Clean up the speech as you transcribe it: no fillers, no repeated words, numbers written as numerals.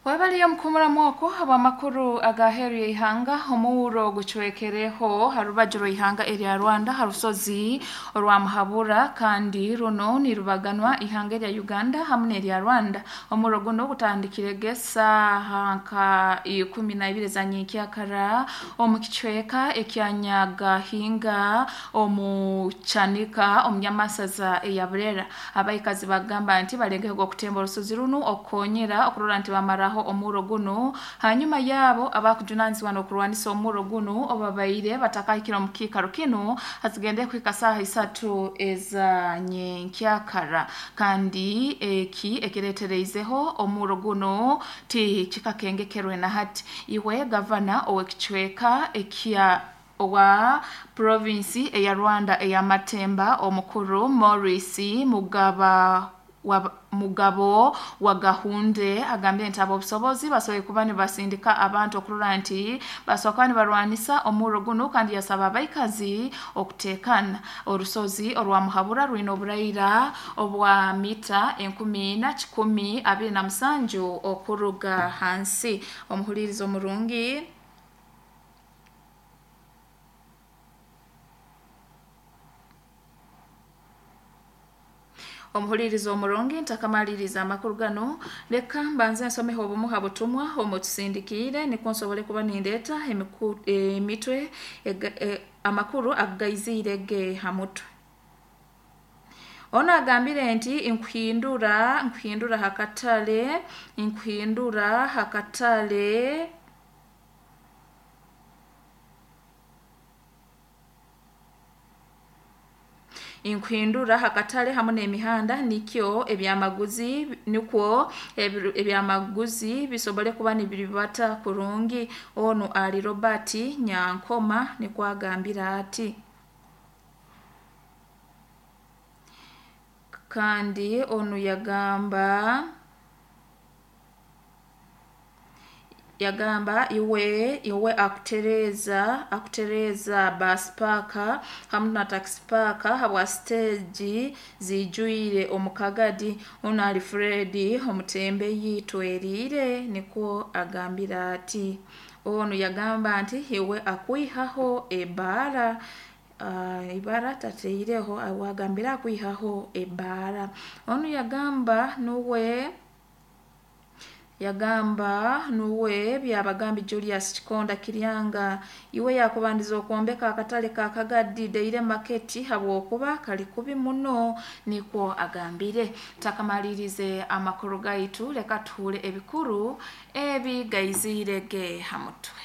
Wabaliyo mukumuramu okwo habw'amakuru agaheeru y'ihanga. Omuhuro gucwekereho ha rubaju rw'ihanga erya Rwanda ha rusozi orwa Muhabura, kandi runo nirubaganwa ihanga erya Uganda hamu n'erya Rwanda. Omurro guno gutandikirege saaha nka 12 za nyenkyakara omu kicweka ekya Nyagahinga omu Kyanika omu Nyamasaza eya Burera. Abaikazi bagamba nti balengeho okutemba orusozi runu okukonyera okurora nti bamaraho omurro guno, hanyuma yabo abakujunanizibwa n'okurwanisa omurro guno obabaire batakahikire omu kiikaro kinu hazigende kuhika saaha 3 eza nyenkyakara, kandi eki ekiretereizeho omurro guno ti kikakengekerwe na hati. Iwe gavana ow'ekicweka ekya owa provinsi eya Rwanda eya Matemba omukuru Maurice Mugabo wa Gahunde agambire nti ab'obusobozi basoboire kuba nibasindika abantu okurora nti basobola kuba nibarwanisa omurro guno, kandi yasaba abaikazi okuteekana. Orusozi orwa Muhabura rwine oburaira obwa mita 4127 okuruga hansi. Omuhulirizo omurungi, omuhuliriza omurungi, ntakamaliriza amakuru gano leka mbanze nsomeho obumu ha butumwa omutusindikiire nikwo nsobole kuba nindeeta emitwe amakuru agaiziire ge ha mutwe. Ono agambire nti nkuhindura hakatale, nkuhindura hakatale nkuhindura hakatale hamu n'emihanda nikyo ebyamaguzi nikwo ebyamaguzi bisobole kuba nibiribata kurungi. Onu ali Robert Nyankoma nikwo agambire ati. Kandi onu yagamba iwe akutereza bus park hamu na taxi park habwa stage zijwire omu Kagadi. Onu ali Fred omutembeyi Tweriire nikwo agambire ati. Onu yagamba nti iwe akwihaho ebara, ibara tateireho, agambire akwihaho ebara. Onu yagamba nuwe Byabagambi Julius Kikonda Kiryanga iwe yakubandiza okwombeka akatale ka Kagadi Daily Market habwokuba kali kubi muno nikwo agambire. Takamalirize amakuru gaitu leka tuhure ebikuru ebi gaiziire ge ha mutwe.